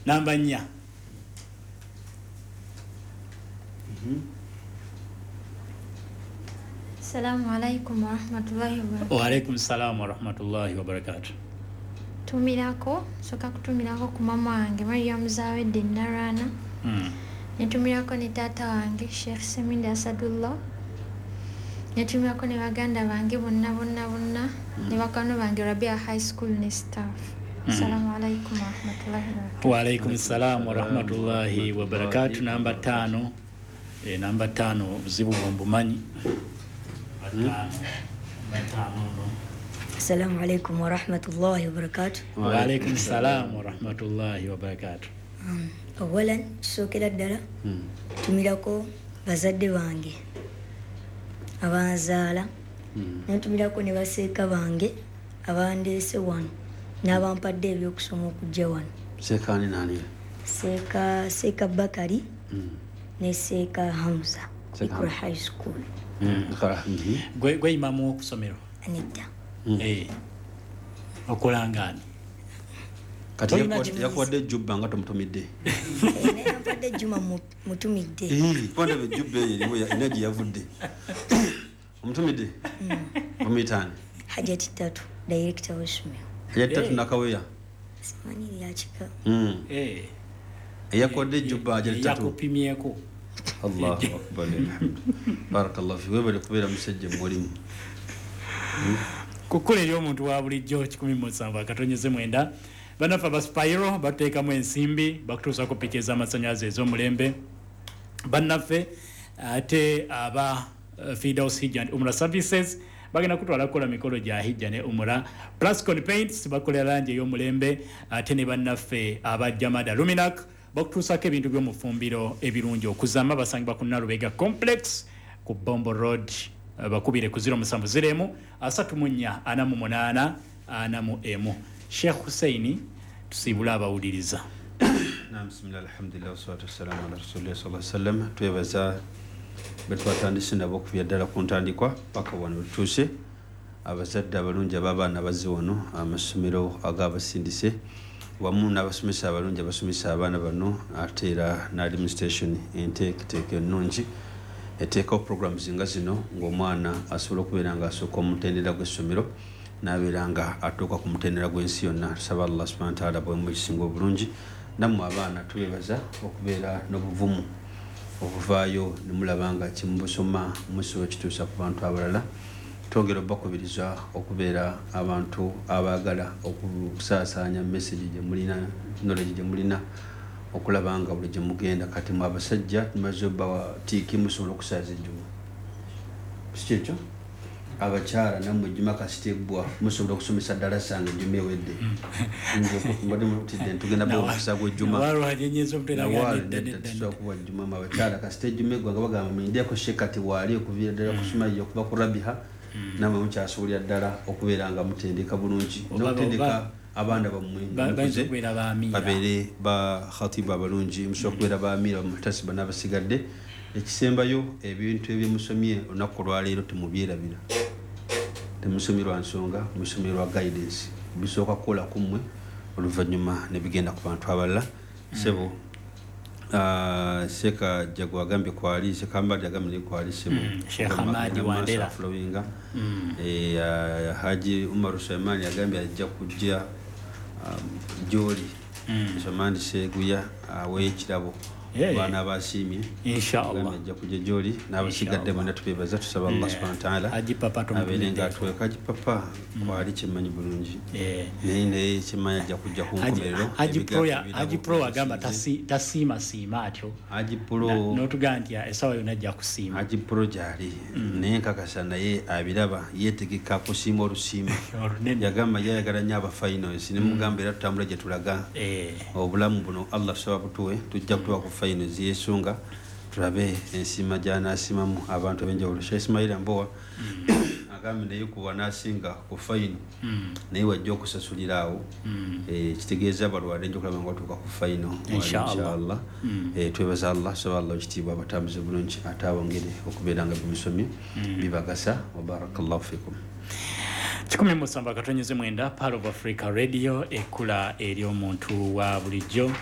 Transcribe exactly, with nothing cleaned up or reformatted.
Namba nnya. Assalamu alaikum warahmatullahi wabarakatuh. Wa alaikum salam warahmatullahi wabarakatuh. Tumirako, soka kutumirako ku mama wange Mariam Zawedde Narana. Mm. Netumirako ne taata wange Sheikh Seminde Asadullah. Netumirako ne baganda bange bonna bonna bonna mm. ne bakwano bange Rabia High School ne staff. Mm. Assalamu alaikum warahmatullahi wabarakatuh. Wa alaikum salam warahmatullahi wabarakatuh. Namba tano. E, namba tano obuzibu bw'obumanyi. Assalamu alaikum warahmatullahi wabarakatuh. Wa alaikum salam warahmatullahi wabarakatuh. Um, awalan kisookera ddala ntumirako bazadde bange abanzaala, nentumirako ne baseeka bange abandeese wano n'abampadde ebyokusoma okujja wano. Seeka ani nani? Seeka Seeka Bakari ne Seeka Hamza Ikra High School. Gwe gwe imamu okusomero? Anita. Eh. Okolangani. Kati yakuwadde ejjubba nga tomutumidde. Naye yampadde ejjuma mutumidde. Kubanga ejjubba eyo eriwo erina gye yavudde. Omutumidde? Omuyita ani? Hajati Tatu, director w'essomero. Hajati Tatu Nakaweya? Simanyi lya kika. Eh. Eyakuwadde ejjubba Hajati Tatu. Yakupimyeko. Allahu akbar alhamdu. Barakallahu fi webale kubeera musajja mulimu. Kukula eri omuntu wa bulijjo kikumi musanvu akatonyeze mwenda. Bannaffe aba Spiro bateekamu ensimbi bakutuusako piki ez'amasannyalaze ez'omulembe. Bannaffe ate aba Firdaus Hijja and Umrah Services bagenda kutwala kukola mikolo gya Hijja ne Umrah. Plascon Paints bakolera langi ey'omulembe ate ne bannaffe aba Jamada Luminac bakutuusako ebintu by'omufumbiro ebirungi okuzama. Basangibwa ku Nalubega Complex ku Bombo Road. Bakubire ku zero musanvu zero emu asatu mu nnya ana mu munaana ana mu emu. Sheikh Hussein tusiibula abawuliriza. Naam, bismillah, alhamdulillah, wassalatu wassalamu ala rasulillah sallallahu alaihi wasallam. Twebaza betwatandise nabo okuvira ddala ku ntandikwa paka wano wetutuuse. Abazadde abalungi ab'abaana bazze wano, amasomero ag'abasindise wamu n'abasomesa abalungi abasomesa abaana bano, ate era n'administration enteeketeeka ennungi eteekawo programs nga zino ng'omwana asobola okubeera nga asooka omutendera gw'essomero n'abeera nga atuuka ku mutendera gw'ensi yonna. Tusaba Allah subhanahu wa ta'ala bwemu ekisinga obulungi. Nammwe abaana tubeebaza okubeera n'obuvumu okuvaayo ne mulaba nga kyemubusoma musobola kituusa ku bantu abalala. Twongera obbakubiriza okubeera abantu abaagala okusaasaanya message gye mulina, knowledge gye mulina, okulaba nga buli gye mugenda. Kati mwe abasajja tumaze obbawa tiiki, musobola okusaaza ejjuma, si kyekyo? Abakyala nammwe ejjuma kasita eggwa musobola okusomesa ddalasa nga ejjuma ewedde. Mbadde mutidde ntugenda bawa omukisa gw'ejjuma. Tusobola kuwa ejjuma mwe abakyala kasita ejjuma eggwa nga bagamba mulindeko Sheikh kati waali okuviira ddala kusoma yo okuva ku Rabiha, nammwe mukyasobolera ddala okubeera nga mutendeka bulungi n'okutendeka abaana bammwe babeere ba khatibu abalungi, musobola okubeera ba amiira, bamuhtasiba n'abasigadde. Ekisembayo, ebintu ebyemusomye olunaku olwaleero temubyerabira. Temusomye lwa nsonga, musomye lwa guidance. Bisooka kukola ku mmwe oluvannyuma ne bigenda ku bantu abalala. Ssebo Seeka Jagwa agambye kwali, Seeka Hamadi agambye kwali, ssebo Sheikh Hamadi Wandera Flowinga. Haji Umar Sulaiman agambye ajja kujja gy'oli. Sulaiman Seguya aweeyo ekirabo baana abasiimye inshallah ajja kujja gy'oli n'abasigadde bonna tubeebaza. Tusaba Allah subhanahu wa ta'ala Haji Papa abeere nga atuweka. Haji Papa kwali kyemmanyi bulungi, naye naye kyemmanyi ajja kujja ku nkomerero. Haji Pro agamba tasiima siima atyo. Haji Pro n'otugamba nti essaawa yonna ajja kusiima. Haji Pro gy'ali naye nkakasa naye abiraba, yeetegeka kusiima olusiima. Yagamba yayagala nnyo aba finals, ne mugamba era tutambula gye tulaga. Obulamu buno Allah tusaba butuwe, tujja kutuwa ku finals yesunga tulabe ensiima gy'anaasimamu abantu ab'enjawulo. Sheikh Ismail Mbowa agambye naye kuwa n'asinga ku fayino naye wajja okusasulira awo, kitegeeza abalwadde nja okulaba nga batuuka ku fayino inshallah. Twebaza Allah, tusaba Allah ekitiibwa abatambuze bulungi ate abongere okubeera nga bimusomye bibagasa. Wa barakallahu fikum. Kikumi musanvu akatonyeze mwenda, Pearl of Africa Radio, ekkula eri omuntu wa bulijjo.